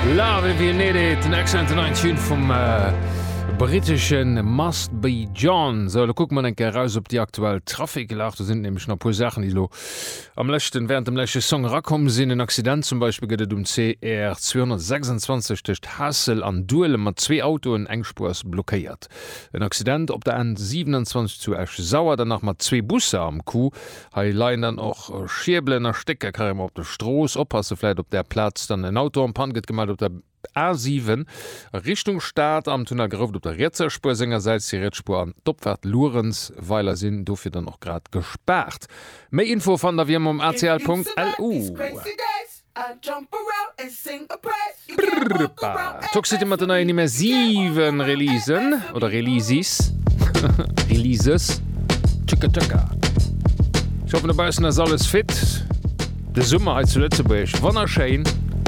Love if you need it, en excellenten neien Tune vum britesche Must Be John. Sou, elo kucke mer eng Kéier eraus op déi aktuell Trafiklag. Do sinn nämlech nach e puer Saachen, déi elo am leschten, während dem leschte Song erakomm sinn. En Accident zum Beispill gëtt et um CR 226 tëscht Haassel an Duelem mat zwee Autoen, eng Spuer ass blockéiert. En Accident op der N 27 zu Esch-Sauer, dann nach mat zwee Busser am Coup. Hei leien dann och Schierbelen a Stécker carrément op der Strooss. Oppasse vläit op där Plaz dann. En Auto en panne gëtt gemellt op der A7 a Richtung Stad am Tunnel Grouft op der rietser Spuer sengersäits. Déi riets Spuer an d'Opfaart Luerenzweiler sinn dofir dann och grad gespaart. Méi Infoe fannt der wéi ëmmer um acl.lu. Toxcity mat den neien immersiven Releasen oder Releases. Releases. Tschëcka tschëcka. Ech hoffen dobaussen ass alles fit. De Summer hei zu Lëtzebuerg wonnerschéin.